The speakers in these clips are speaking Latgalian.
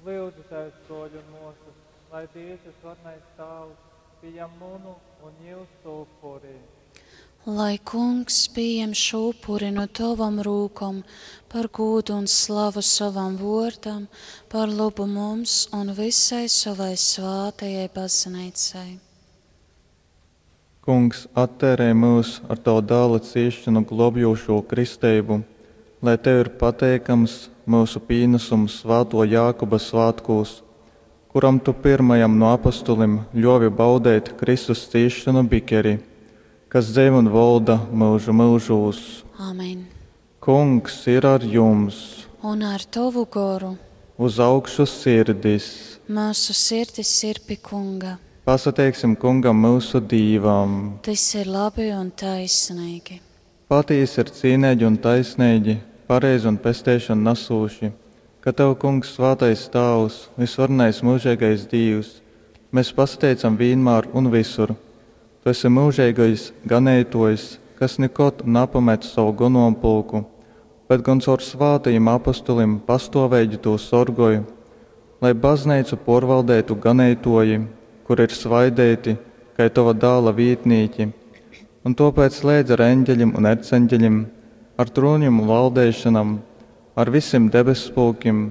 Lyudzitēs, brōļi un mōsas, lai Dievs visvarenais Tāvs pieņem munu un jūsu upuri. Lai Kungs pieņem šo upuri no tavam rūkom par gūdu un slavu savam vōrdam, par labu mums un visai savai svātajai baznīcai. Kungs, atteirej myus ar tova Dāla cīsšonu glōbjūšū kristeibu, lai tev ir pateikams myusu pīnasums svātō Jākuba svātkūs, kuram tu pyrmajam nu apostolim ļōvi baudeit Kristus cīsšonu bikeri, kas dzeivoj un volda myužu myužūs. Amen. Kungs ir ar jums! Un ar tovu goru. Uz augšu sirdis! Mūsu sirdis ir pi Kunga. Pasateiksim Kungam myusu Dīvam! Tys ir labi un taisneigi. Patīsi ir cīneigi un taisneigi, pareizi un pesteišonu nasūši, ka tev, Kungs, svātais Tāvs, vysvarenais myužeigais Dīvs, mes pasateicam vīnmār un vysur. Tu esi myužeigais Ganeitōjs, kas nikod napamet sovu gonompulku, bet gon caur svātajim apostolim pastōveigi tū sorgoj. Lai bazneicu pōrvaldeitu ganeitōji, kuri ir svaideiti, kai tova Dāla vītnīki, un tōpēc leidz ar eņgeļim un erceņgeļim, ar trūnim un valdeišonam, ar visim debesspulkim,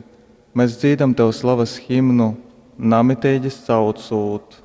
mes dzīdam tev slavas himnu, namiteigi saucūt.